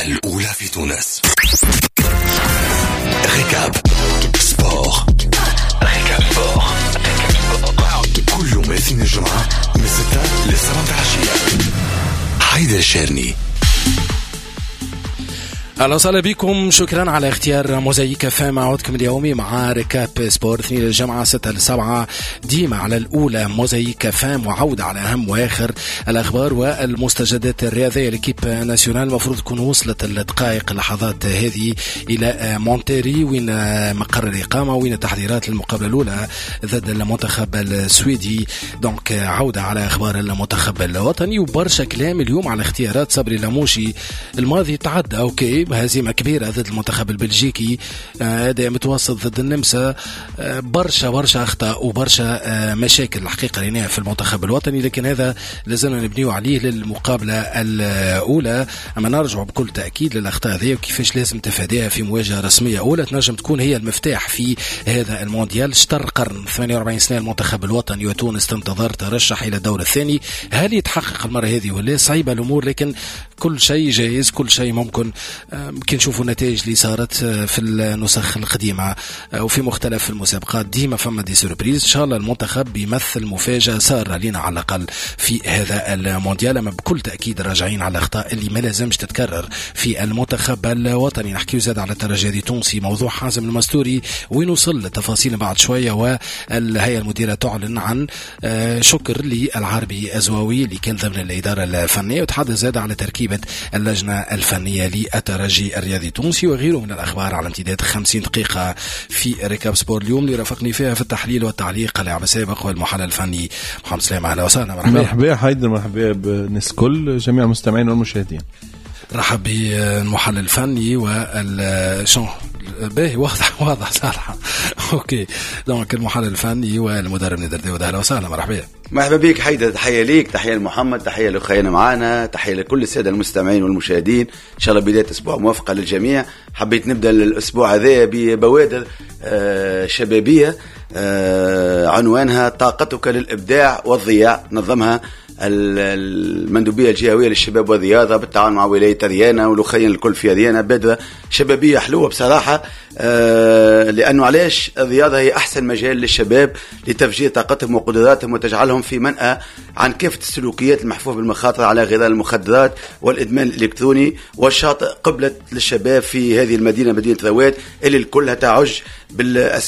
الأولى في تونس. Récap Sport، Récap Sport كل يوم اثنين الجمعة من 6 ل 7 العشية. حيدر الشارني. اهلا وسهلا بكم، شكرا على اختيار موزايك اف ام. عودكم اليومي مع Récap Sport، اثنين الجمعة 6 ل 7، ديما على الاولى موزايك اف ام، وعوده على اهم واخر الاخبار والمستجدات الرياضيه. l'équipe nationale المفروض تكون وصلت الدقائق اللحظات هذه الى مونتيري، وين مقر الاقامة وين التحضيرات للمقابله الاولى ضد المنتخب السويدي. donc عوده على اخبار المنتخب الوطني وبرشا كلام اليوم على اختيارات صبري لاموشي. الماضي تعدى OK، هزيمة كبيرة ضد المنتخب البلجيكي، اداء متوسط ضد النمسا، برشا برشا اخطاء وبرشا مشاكل الحقيقة ريناها في المنتخب الوطني، لكن هذا لازلنا نبنيو عليه للمقابله الاولى. اما نرجع بكل تاكيد للاخطاء هذه وكيفاش لازم تفاديها في مواجهة رسمية اولى تنجم تكون هي المفتاح في هذا المونديال. شطر قرن، 48 سنة المنتخب الوطني وتونس تنتظر ترشح الى الدور الثاني. هل يتحقق المرة هذه ولا؟ صعيبة الامور، لكن كل شيء جايز، كل شيء ممكن. كي نشوفوا النتائج اللي صارت في النسخ القديمة وفي مختلف المسابقات ديما فما des surprises. ان شاء الله المنتخب بيمثل مفاجاة ساره لنا على الاقل في هذا المونديال. اما بكل تاكيد راجعين على الاخطاء اللي ما لازمش تتكرر في المنتخب الوطني. نحكيو زاد على الترجي التونسي، موضوع حازم المستوري وين وصل، التفاصيل بعد شويه. والهيئة المديرة تعلن عن شكر للعربي الزواوي اللي كان ضمن الادارة الفنية، وتحدث زاد على تركيبه اللجنة الفنية للترجي الرياضي التونسي وغيره من الأخبار على امتداد 50 دقيقة في Récap Sport اليوم، اللي رافقني فيها في التحليل والتعليق اللاعب السابق والمحلل الفني محمد سلام. أهلا وسهلا، مرحبا. مرحبا حيدر، مرحبا بالناس الكل، جميع المستمعين والمشاهدين. رحب بالمحلل الفني وال شو باهي، واضح واضح صالحة. OK، donc المحلل الفني والمدرب نادر داود، اهلا وسهلا، مرحبا. مرحبا بك حيدر، تحية ليك، تحية لمحمد، تحية لأخينا معانا، تحية لكل السادة المستمعين والمشاهدين. إن شاء الله بداية أسبوع موفقة للجميع. حبيت نبدأ الأسبوع هذا ببوادر شبابية عنوانها طاقتك للإبداع والضياع، نظمها المندوبية الجهوية للشباب والرياضة بالتعاون مع ولاية أريانا والأخيين الكل في أريانا. بادرة شبابية حلوة بصراحة، لأنه علاش الرياضة هي أحسن مجال للشباب لتفجير طاقتهم وقدراتهم وتجعلهم في منأى عن كافة السلوكيات المحفوفة بالمخاطر على غرار المخدرات والإدمان الإلكتروني. والشاطئ قبلة للشباب في هذه المدينة، مدينة رواد، اللي كلها تعج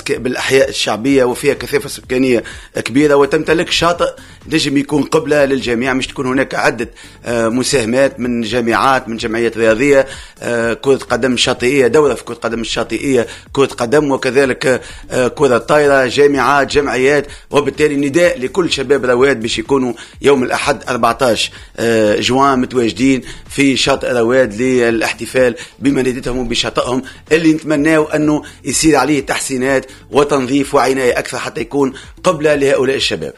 بالأحياء الشعبية وفيها كثافة سكانية كبيرة، وتمتلك شاطئ نجم يكون قبلة للجميع. مش تكون هناك عدة مساهمات من جامعات، من جمعيات رياضية، كرة قدم شاطئية، دورة في كرة قدم الشاطئية، كرة قدم وكذلك كرة طايرة، جامعات، جمعيات. وبالتالي نداء لكل شباب رواد باش يكونوا يوم الأحد 14 جوان متواجدين في شاطئ رواد للاحتفال بمدينتهم وبشاطئهم اللي نتمناو أنه يصير عليه تحسينات وتنظيف وعناية أكثر حتى يكون قبلة لهؤلاء الشباب.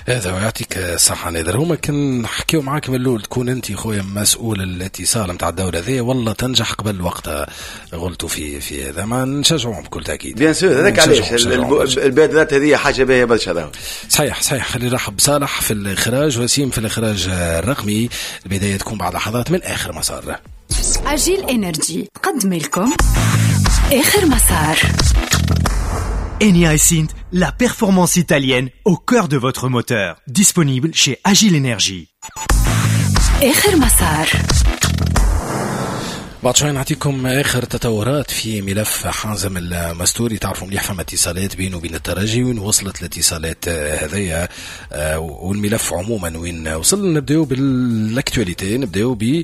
هذا ويعطيك الصحة نادر. هما كان نحكيو معاك من الأول تكون أنت خويا مسؤول الاتصال نتاع الدولة ذي، والله تنجح قبل وقتها. غلطوا في هذا، ما نشجعوهم بكل تأكيد. bien sûr، هذاك علاش البادرات هذه حاجة باهية برشا. صحيح صحيح. خلينا نرحب بصالح في الإخراج، وسيم في الإخراج الرقمي. البداية تكون بعد لحظات من آخر مسار. أجيل إنرجي تقدم لكم آخر مسار. Eni iSINT, la performance italienne au cœur de votre moteur. Disponible chez Agile Energy. آخر مسار. بعد شوي نعطيكم اخر تطورات في ملف حازم المستوري. تعرفوا مليح فما اتصالات بينه وبين الترجي، وين وصلت الاتصالات هذيا والملف عموما وين وصل. نبداو بال actualité، نبداو ب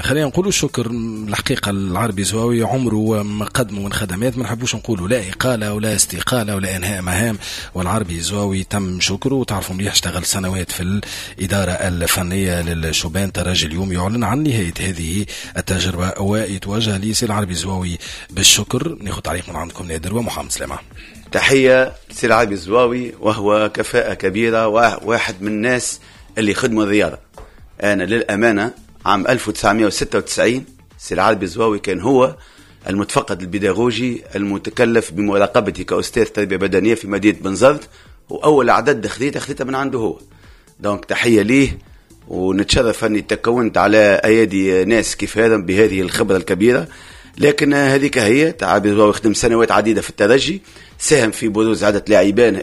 خلينا نقولوا شكر الحقيقة العربي زواوي، عمره ما قدموا من خدمات، ما نحبوش نقولوا لا اقاله ولا استقالة ولا انهاء مهام، والعربي زواوي تم شكره. وتعرفوا مليح اشتغل سنوات في الادارة الفنية للشبان. ترجي اليوم يعلن عن نهاية هذه التجربة ويتوجه لسي العربي زواوي بالشكر. ناخذ تعليق من عندكم نادر ومحمد سلامة. تحية لسي العربي الزواوي، وهو كفاءة كبيرة وواحد من الناس اللي خدموا الرياضة. أنا للأمانة عام 1996 سي العربي الزواوي كان هو المتفقد البيداغوجي المتكلف بمراقبتي كأستاذ تربية بدنية في مدينة بنزرت، وأول عدد خذيته من عنده هو. donc تحية ليه. ونتشرف اني تكونت على ايادي ناس كيف هذا بهذه الخبرة الكبيرة. لكن هذيك هي، عربي الزواوي خدم سنوات عديدة في الترجي، ساهم في بروز عده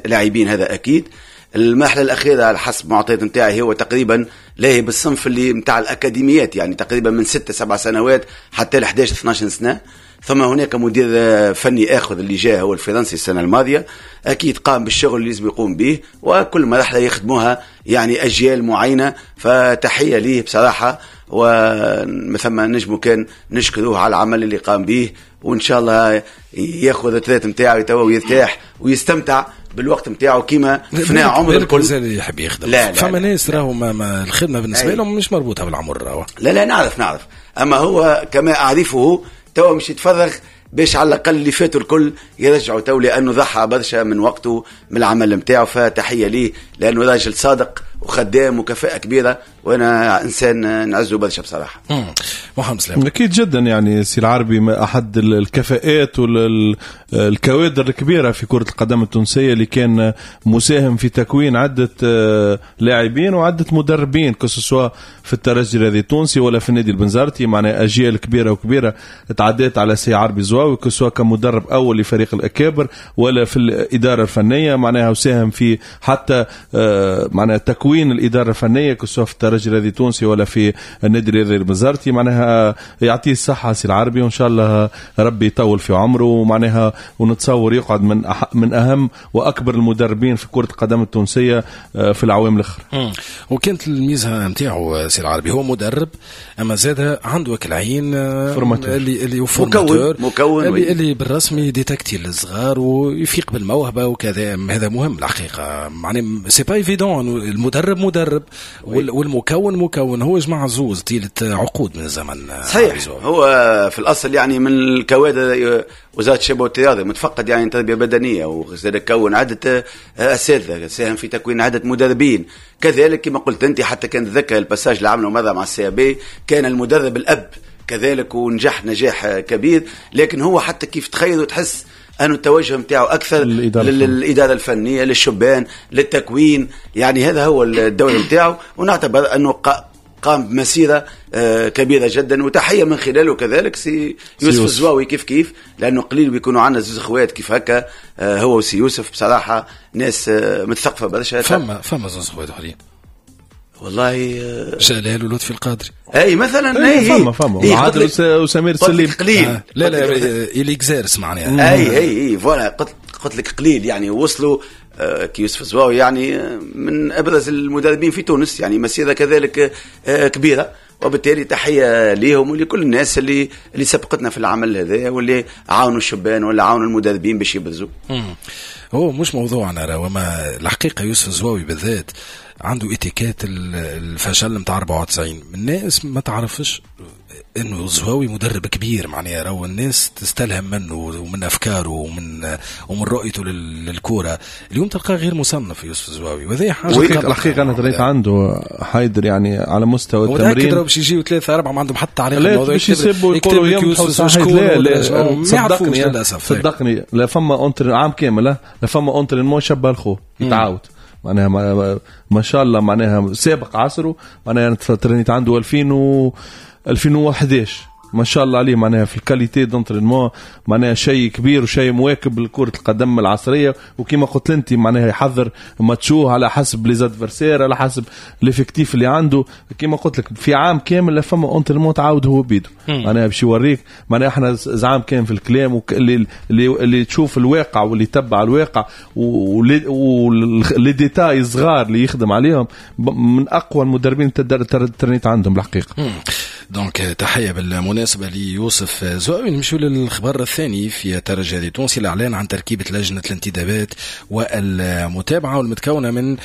لاعبين هذا اكيد. المرحلة الاخيرة على حسب معطيات نتاعي هو تقريبا لاهي بالصنف اللي نتاع الاكاديميات، يعني تقريبا من 6-7 سنوات حتى ل 11-12 سنة. ثم هناك مدير فني اخر اللي جاء هو الفرنسي السنة الماضية، اكيد قام بالشغل اللي لازم يقوم به، وكل مرحلة يخدموها يعني اجيال معينة. فتحيه ليه بصراحة، ومثل ما نجمو كان نشكروه على العمل اللي قام به، وان شاء الله ياخذ ال retraite نتاعو توا ويرتاح ويستمتع بالوقت نتاعو كيما فناء عمر الكل. مازال يحب يخدم. لا لا، فما ناس راهو الخدمة بالنسبة لهم مش مربوطة بالعمر راهو. لا نعرف، اما هو كما اعرفه توا مش يتفرغ باش على الاقل اللي فاتوا الكل يرجعوا تو، لانه ضحى برشا من وقته من العمل نتاعو. فتحيه ليه لانه راجل صادق وخدام وكفاءة كبيرة، وانا انسان نعزه برشا بصراحة. محمد سلام. اكيد جدا، يعني سي العربي احد الكفاءات والكوادر الكبيرة في كره القدم التونسية، اللي كان مساهم في تكوين عده لاعبين وعده مدربين، que ce soit في الترجي الرياضي التونسي ولا في النادي البنزرتي. معناها اجيال كبيرة وكبيره تعدات على سي عربي زواوي، que ce soit كمدرب اول لفريق الاكابر ولا في الادارة الفنية، معناها وساهم في حتى معناها تكوين الادارة الفنية que ce soit في الترجي الرياضي التونسي ولا في النادي الرياضي البنزرتي. معناها يعطيه الصحة سي العربي، وان شاء الله ربي يطول في عمره، ومعناها ونتصور يقعد من اهم واكبر المدربين في كره القدم التونسية في العوام الاخرى. وكانت الميزة نتاعو سي العربي هو مدرب، اما زاد عنده العين اللي formateur مكون اللي بالرسمي détecter الصغار ويفيق بالموهبه وكذا. هذا مهم الحقيقة، معني c'est pas évident. المدرب مدرب والمكون مكون، هو جمع زوز طيلة عقود من الزمن. صحيح، هو في الاصل يعني من الكوادر وزارة الشباب والرياضة، متفقد يعني تربيه بدنية، وزاد كون عده اساتذة، ساهم في تكوين عده مدربين. كذلك كما قلت انت، حتى كان تذكر ال passage اللي عمله مرة مع ال CAB، كان المدرب الاب كذلك ونجح نجاح كبير. لكن هو حتى كيف تخيل وتحس أنه التوجه نتاعو أكثر للإدارة الفنية، للشبان، للتكوين، يعني هذا هو الدور نتاعو. ونعتبر أنه قام بمسيرة كبيرة جدا، وتحية من خلاله كذلك سي يوسف الزواوي كيف كيف، لأنه قليل بيكونوا عندنا زوز اخوات كيف هكا، هو وسي يوسف بصراحة ناس متثقفة برشا. فما زوز اخوات آخرين والله، جلال ولطفي القادري اي مثلا، اي فما عادل وسمير سليم. قليل لا il exerce معناها، اي voilà، قلت لك قليل يعني. وصلوا كي يوسف الزواوي يعني من ابرز المدربين في تونس، يعني مسيره كذلك كبيرة، وبالتالي تحية ليهم ولكل الناس اللي سبقتنا في العمل هذا، واللي عاونوا الشبان ولا عاونوا المدربين باش يبرزوا. هو مش موضوعنا راه، وما الحقيقة يوسف الزواوي بالذات عنده اتيكات الفشل نتاع 94. الناس ما تعرفش انه الزواوي مدرب كبير، معناها راهو الناس تستلهم منه ومن افكاره ومن رؤيته للكورة. اليوم تلقاه غير مصنف يوسف الزواوي، وهذه حاجة الحقيقة انا تريت عنده حيدر يعني على مستوى التمرين. متاكد باش يجيو 3 4 ما عندهم حتى علاقة بالموضوع، باش يسبوا يقولوا يوسف شكون. لا صدقني للاسف، صدقني لا فما entraînement عام كامل، لا فما entraînement شبه الخو يتعاود معناها ما شاء الله، معناها سابق عصره. معناها انا ترينيت عنده 2011 ما شاء الله عليه، معناها في ال qualité d'entraînement معناها شيء كبير وشيء مواكب لكرة القدم العصرية. وكما قلت انت معناها يحضر ماتشوه على حسب les adversaires، على حسب l'effectif اللي عنده. كما قلت لك في عام كامل لا فما entraînement تعاود هو بيدو، معناها باش يوريك. معناها احنا زعام كان في الكلام، اللي تشوف الواقع واللي تبع الواقع و les détails صغار اللي يخدم عليهم، من اقوى المدربين ترنيت عندهم الحقيقة. donc تحية بالمناسبة ليوسف زواوي. نمشيو للخبر الثاني في الترجي التونسي، الإعلان عن تركيبة لجنة الانتدابات والمتابعة، والمتكونة من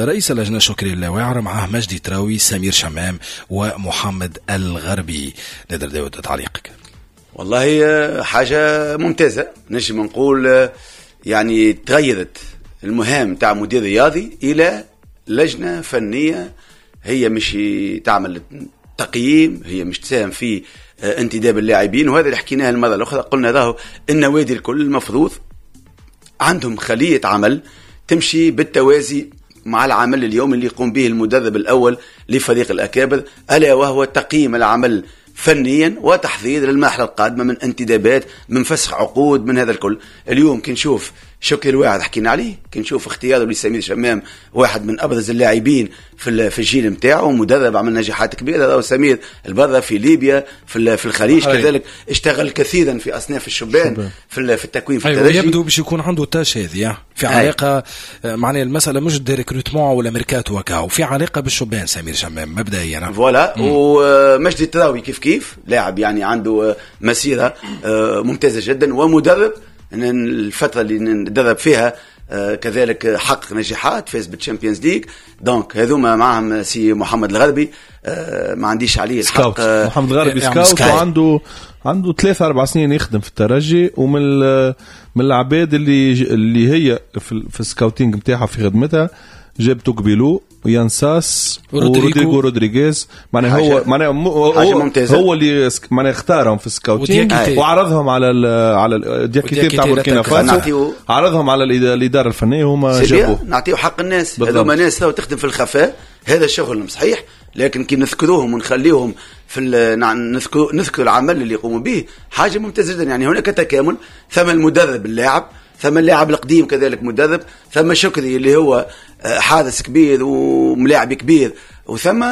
رئيس اللجنة شكري اللاواعر، معه مجدي تراوي، سمير شمام، ومحمد الغربي. نادر داود، تعليقك. والله حاجة ممتازة، نجم نقول يعني تغيرت المهام تاع مدير رياضي إلى لجنة فنية، هي مش تعمل تقييم، هي مش تساهم في انتداب اللاعبين. وهذا اللي حكيناه المرة الأخرى، قلنا راهو النوادي الكل المفروض عندهم خلية عمل تمشي بالتوازي مع العمل اليوم اللي يقوم به المدرب الاول لفريق الاكابر، الا وهو تقييم العمل فنيا وتحضير للمرحلة القادمة من انتدابات، من فسخ عقود، من هذا الكل. اليوم كي نشوف شكري الواعد حكينا عليه، كي نشوف اختياره لسمير شمام، واحد من ابرز اللاعبين في الجيل نتاعو، مدرب عمل نجاحات كبيرة، راهو سمير البرة في ليبيا، في الخليج كذلك اشتغل كثيرا في اصناف الشبان في التكوين في الترجي. يبدو باش يكون عنده tâche هذه في علاقة، معناها المسالة مش des recrutements ولا ميركاتو وكاو، في علاقة بالشبان سمير شمام مبدئيا. voilà. ومجدي التراوي كيف كيف لاعب يعني عنده مسيره ممتازة جدا، ومدرب الفترة اللي ندرب فيها كذلك حقق نجاحات، فاز بال Champions League. donc هذوما معهم سي محمد الغربي، ما عنديش عليه الحق. محمد الغربي scout، وعنده 3-4 سنين يخدم في الترجي، ومن العباد اللي هي في ال scouting نتاعها في خدمتها جاب توكبيلو ويانساس ورودريغو رودريغيز، معناها هو معناها هو اللي معناها اختارهم في ال scouting وعرضهم على دياكيتي تاع بوركينا فاسو، عرضهم على الادارة الفنية وهما جابوه. نعطيو حق الناس هذوما، ناس تخدم في الخفاء، هذا شغل صحيح، لكن كي نذكروهم ونخليهم في نذكر العمل اللي يقوموا به حاجة ممتازة جدا. يعني هناك تكامل، ثم المدرب اللاعب، ثم اللاعب القديم كذلك مدرب، ثم شكري اللي هو حارس كبير وملاعب كبير، وثم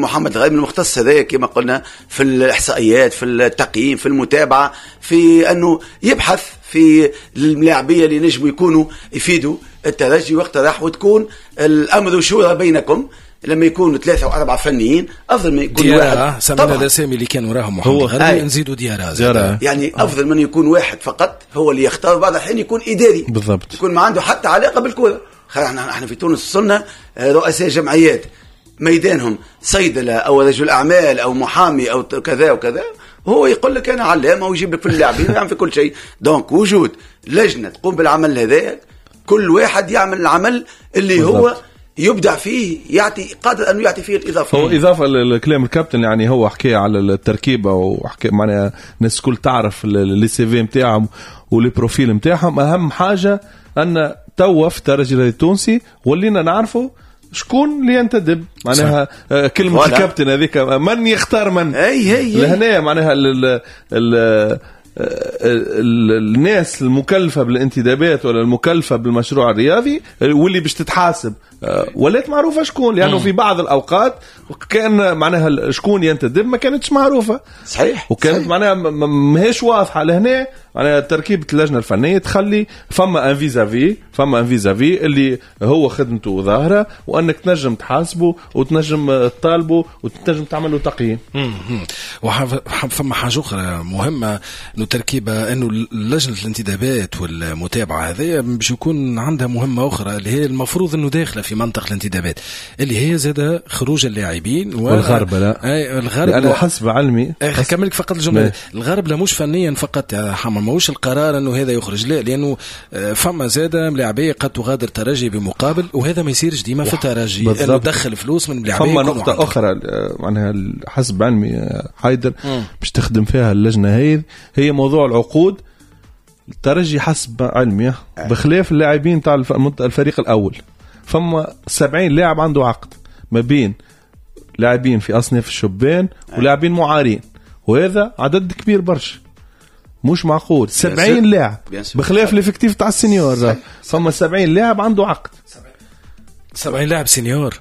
محمد الغربي المختص هذا كما قلنا في الإحصائيات، في التقييم، في المتابعة، في أنه يبحث في الملاعبية اللي نجموا يكونوا يفيدوا الترجي واقترح، وتكون الأمر شورى بينكم. لما يكونوا 3 أو 4 فنيين افضل من يكون واحد. سمينا الاسامي اللي كان وراهم محمد الغربي، نزيدوا ديارة، يعني افضل من يكون واحد فقط هو اللي يختار، بعض الحين يكون اداري بالضبط، يكون ما عنده حتى علاقة بالكرة. احنا في تونس وصلنا رؤساء جمعيات ميدانهم صيدلة او رجل اعمال او محامي او كذا وكذا، هو يقول لك انا علامة ويجيب لك في اللاعبين ويعمل في كل شيء. donc وجود لجنة تقوم بالعمل هذا، كل واحد يعمل العمل اللي بالضبط. هو يبدع فيه، يعطي قادر أنه يعطي فيه الإضافة. هو إضافة لكلام الكابتن، يعني هو حكى على التركيبة وحكى معناها الناس الكل تعرف les CV نتاعهم و les profils نتاعهم. أهم حاجة أن توا في الترجي التونسي ولينا نعرفوا شكون اللي ينتدب، معناها كلمة الكابتن هذيك من يختار من. أي لهنا معناها ال ال الناس المكلفة بالانتدابات ولا المكلفة بالمشروع الرياضي واللي باش تتحاسب ولات معروفة شكون، لأنه في بعض الأوقات كان معناها شكون ينتدب ما كانتش معروفة. صحيح. وكانت صحيح. معناها ماهيش واضحة. لهنا معناها تركيبة اللجنة الفنية تخلي فما un vis-à-vis، فما un vis-à-vis اللي هو خدمته ظاهرة، وأنك تنجم تحاسبه وتنجم تطالبه وتنجم تعمل له تقييم. فما حاجة أخرى مهمة، إنه تركيبة إنه لجنة الانتدابات والمتابعة هذه باش يكون عندها مهمة أخرى اللي هي المفروض إنه داخلة في منطق الانتدابات، اللي هي زادة خروج اللاعبين والغرب. لا الغرب لأنه حسب علمي كملك فقط الجملة، الغرب لا مش فنيا فقط يا حما، ماهوش القرار انه هذا يخرج، لا، لانه فما زاده ملاعبيه قد تغادر ترجي بمقابل، وهذا ما يصيرش ديما في الترجي، انه دخل فلوس من ملاعبيه. فما نقطة اخرى معناها حسب علمي حيدر باش تخدم فيها اللجنة هذه، هي موضوع العقود. الترجي حسب علمي بخلاف اللاعبين تاع الفريق الاول فما 70 لاعب عنده عقد، ما بين لاعبين في اصناف الشبان ولاعبين معارين، وهذا عدد كبير برشا مش معقول. 70 لاعب بخلاف l'effectif تاع ال seniors، فما 70 لاعب عنده عقد. 70 لاعب seniors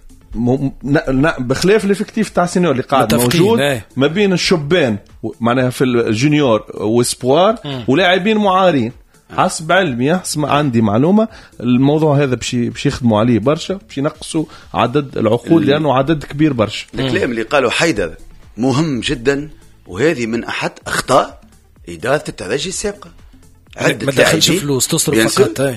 بخلاف l'effectif تاع ال seniors اللي قاعد موجود ما بين الشبان معناها في ال juniors و espoirs ولاعبين معارين. حسب علمي، حسب عندي معلومة، الموضوع هذا باش يخدموا عليه برشا، باش ينقصوا عدد العقود لانه عدد كبير برشا. الكلام اللي قاله حيدر مهم جدا، وهذه من احد اخطاء ادارة الترجي السابقة. ما دخلش فلوس تصرف فقط.